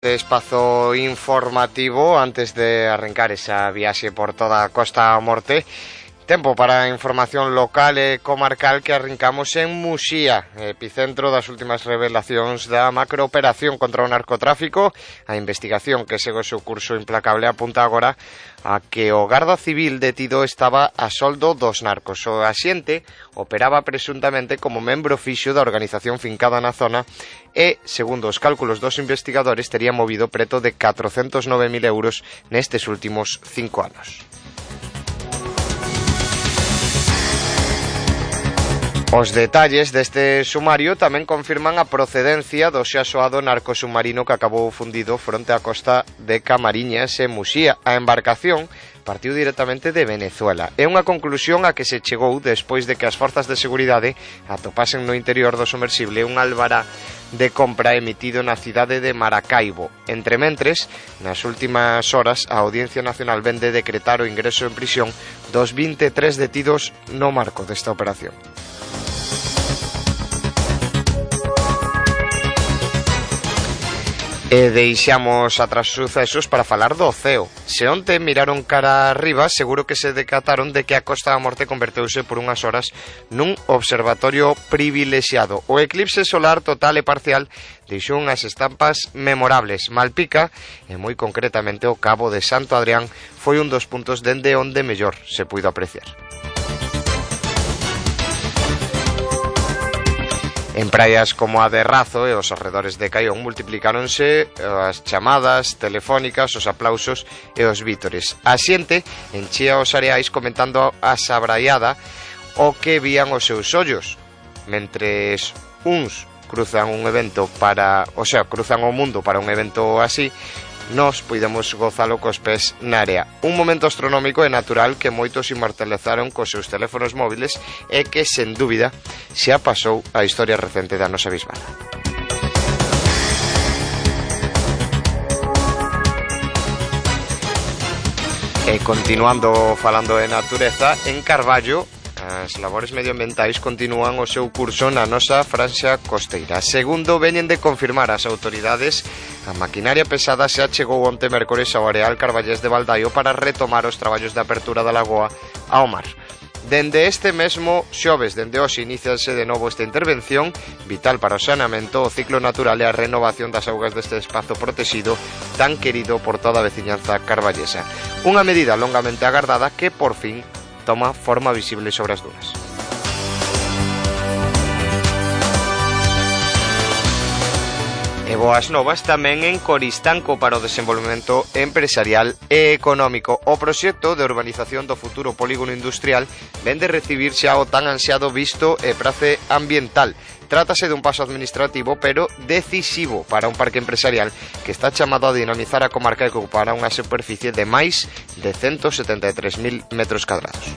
De espazo informativo antes de arrancar esa viaxe por toda a Costa Morte. Tempo para a información local e comarcal que arrancamos en Muxía, epicentro das últimas revelacións da macrooperación contra o narcotráfico. A investigación que segue o seu curso implacable apunta agora a que o garda civil detido estaba a soldo dos narcos. O axente operaba presuntamente como membro fixo da organización fincada na zona e, segundo os cálculos dos investigadores, tería movido preto de 409.000 euros nestes últimos 5 anos. Os detalles deste sumario tamén confirman a procedencia do xa soado narcosubmarino que acabou fundido fronte á costa de Camariñas e Muxía. A embarcación partiu directamente de Venezuela. É unha conclusión a que se chegou despois de que as forzas de seguridade atopasen no interior do sumersible un albará de compra emitido na cidade de Maracaibo. Entrementres, nas últimas horas, a Audiencia Nacional ven de decretar o ingreso en prisión dos 23 detidos no marco desta operación. E deixamos atrás sucesos para falar do ceo. Se onte miraron cara arriba, seguro que se decataron de que a Costa da Morte converteuse por unhas horas nun observatorio privilexiado. O eclipse solar total e parcial deixou unhas estampas memorables. Malpica, e moi concretamente o Cabo de Santo Adrián, foi un dos puntos dende onde mellor se puido apreciar. En praias como a de Razo e os arredores de Caión multiplicáronse as chamadas telefónicas, os aplausos e os vítores. A xente enchía os areais comentando a sabraiada o que vían os seus ollos, mentres uns cruzan un evento cruzan o mundo para un evento así, nós podemos gozalo cos pés na area. Un momento astronómico e natural que moitos inmortalizaron cos seus teléfonos móviles e que, sen dúbida, xa pasou a historia recente da nosa bisbala. E continuando falando de natureza, en Carballo, as labores medioambientais continúan o seu curso na nosa franxa costeira. Segundo veñen de confirmar as autoridades, a maquinaria pesada xa chegou onte mércores ao areal carballés de Baldaio para retomar os traballos de apertura da lagoa ao mar. Dende este mesmo xoves, dende hoxe, iniciase de novo esta intervención vital para o saneamento, o ciclo natural e a renovación das augas deste espazo protegido tan querido por toda a veciñanza carballesa. Unha medida longamente agardada que, por fin, toma forma visible sobre as dunas. E boas novas tamén en Coristanco para o desenvolvemento empresarial e económico. O proxecto de urbanización do futuro polígono industrial ven de recibir xa o tan ansiado visto e prace ambiental. Trátase dun paso administrativo, pero decisivo para un parque empresarial que está chamado a dinamizar a comarca e que ocupará unha superficie de máis de 173.000 metros cadrados.